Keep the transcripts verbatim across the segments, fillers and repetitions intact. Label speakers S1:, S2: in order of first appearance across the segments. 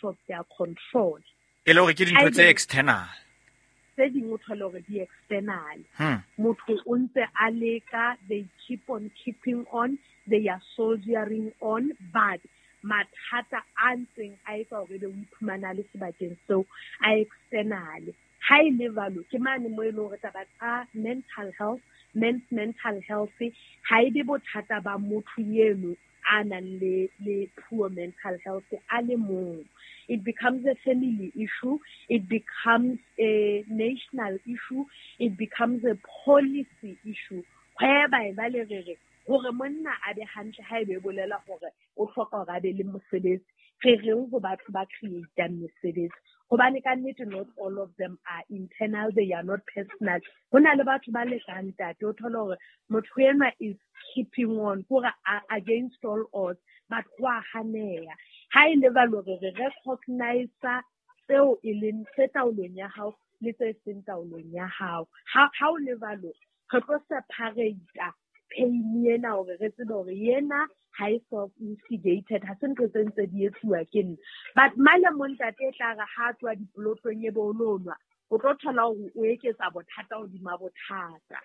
S1: out of their control.
S2: E le hore ke dintho tse external.
S1: Tse ding o thole hore di external.
S2: Hmm.
S1: Motho o ntse a leka, they keep on keeping on, they are soldiering on, but mathata a ntseng a etsa hore ebe o iphumana le sebakeng seo a external. Ha e le jwalo, ke mane mo e leng hore taba tsa mental health, men's mental health, ha e be bothata ba motho eno a nang le, le poor mental health a le mong. It becomes a family issue, it becomes a national issue, it becomes a policy issue. Whereby ba le re re, hore monna a be hantle ha ebe bolela hore o hloka hore a be le mosebetsi, re reng ho batho ba create-ang mesebetsi? Hobane ka nnete not all of them are internal, they are not personal. Ho na le batho ba lekang ntate, o thole hore motho enwa is keeping on, hore against all odds, but ho a haneha. Ha e le jwalo re re recognize tseo e leng tse taolong ya hao le tse seng taolong ya hao. Ha, ha o le jwalo, re tlo separate pain ena hore re tsebe hore yena ha e self-instigated, ha se ntho tse ntse di etsuwa ke nna. But male mo ntate e tla re ha tswa diplotong e be o lo nwa, o tlo thola hore o eketsa bothata hodima bothata.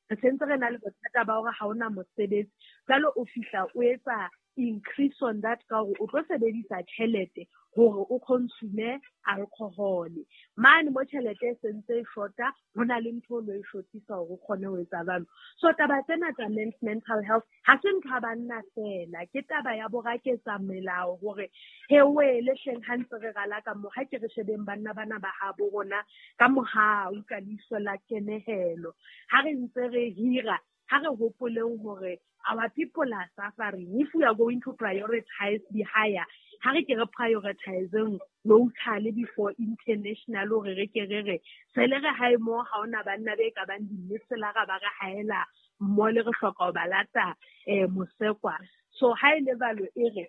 S1: Re sentse re na le bothata ba hore ha ona mosebetsi, jwale o fihla o etsa increase on that ka hore o tlo sebedisa tjhelete hore o consume alcohol. Mane mo tjhelete e sentse e shota, ho na le ntho o lo e shotisa hore o kgone ho etsa jwalo. So taba tsena tsa men's mental health ha se ntho ya banna feela, ke taba ya boraketsa melao hore he wele hleng ha ntse re rala ka mo, ha ke re shebeng banna bana ba habo rona ka mohau ka leihlo la kenehelo. Ha re ntse re hira, ha re hopoleng hore our people are suffering. If we are going to prioritize the higher, ha re ke re prioritizeng locally before international, hore re ke re re se le re hae mo ha ona banna be ka bang dimmeselara ba re haela mo le re hloka ho ba lata, eh, mosekwa. So ha e le jwalo e re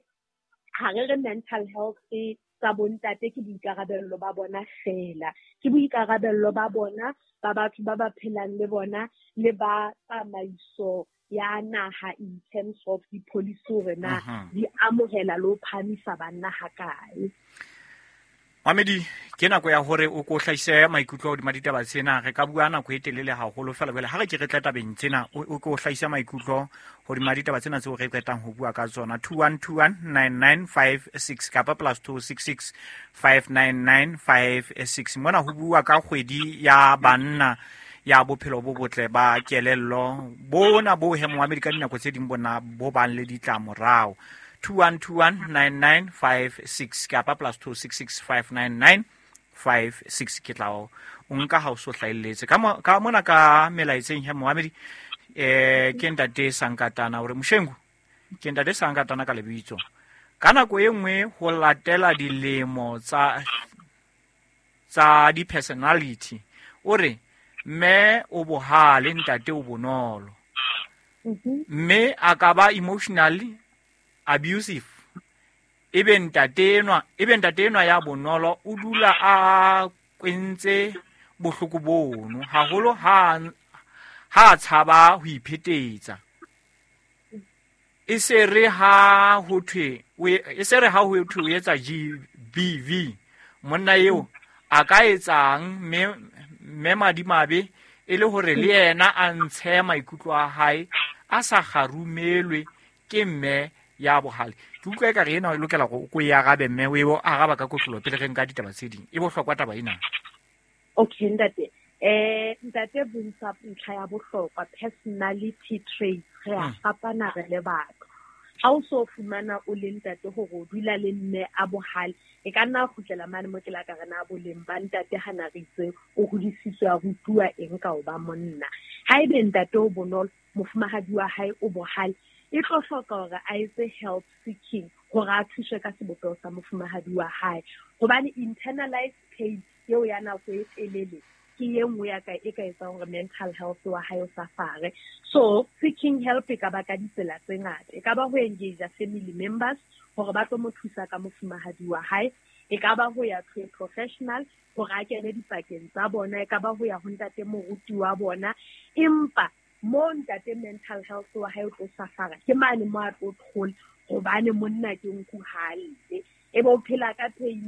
S1: ha re re mental health e tsa bontate ke boikarabello ba bona fela, ke boikarabello ba bona ba batho ba ba phelang le bona le ba tsamaiso ya naha in terms of di-policy hore na
S2: Mhm.
S1: di amohela le ho phahamisa banna ha kae.
S2: Mamedi, ke nako ya hore o ko hlahise maikutlo hodima ditaba tsena. Re ka bua nako e telele haholo fela jwale ha re ke re tle tabeng tsena, o, o ko hlahise maikutlo hodima ditaba tsena tseo re qetang ho bua ka tsona. two one two one nine nine five six kapa plus two six six five nine nine five six. Mona ho bua ka kgwedi ya banna ya bophelo bo botle ba kelello, bona bo he Moamedi ka dinako tse ding bona bo bang le ditlamorao. two one two one nine nine five six kapa plus two six six five nine nine five six. Ke tla o nka ha o so hlahelletse. Ka mo-, ka mona ka melaetseng he Moamedi, eh, ke ntate Sankatana hore Moshengu, ke ntate Sankatana ka lebitso. Ka nako e nngwe ho latela dilemo tsa, tsa di-personality, o re mme o bohale, ntate o bonolo.
S1: Mhm.
S2: Mme a ka ba emotionally abusive. Ebe ntate enwa, ebe ntate enwa ya bonolo o dula a kwentse bohloko bono haholo ha, ha tshaba ho iphetetsa. E se re ha ho thwe, o e, e se re ha ho thwe o etsa G B V, monna eo a ka etsang mme, mme madimabe e le hore le yena a ntshe maikutlo a hae a sa kgarumelwe ke mme ya bohale. Ke utlwa ekare ena o lokela hore o ko e arabe mme o e bo araba ka kotloloho pele re nka ditaba tse ding. E bohlokwa taba ena.
S1: Okay, ntate. Eh, ntate bontsha ntlha ya bohlokwa, personality traits. Re a
S2: Hmm.
S1: fapana re le batho. Ha o so fumana o le ntate hore o dula le mme a bohale, e ka nna kgutlela mane mo ke la ka re na boleng ba ntate ha na re itse o hodisitswe a rutuwa eng ka ho ba monna. Haebe ntate o bonolo, mofumahadi wa hae o bohale, e tlo hloka hore a etse help seeking hore a thuswe ka sebopeho sa mofumahadi wa hae. Hobane internalized pain eo ya nako e telele ke e nngwe ya ka e ka etsang hore mental health wa hae o safare. So seeking help e ka ba ka ditsela tse ngata. E ka ba ho engage family members hore ba tlo mo thusa ka mofumahadi wa hae. E ka ba ho ya to a professional hore a kene dipakeng tsa bona. E ka ba ho ya ho ntate moruti wa bona. Empa mo ntate mental health wa hae o tlo safara ke mane mo a tlo thola hobane monna ke nku ha lle. E be o phela ka pain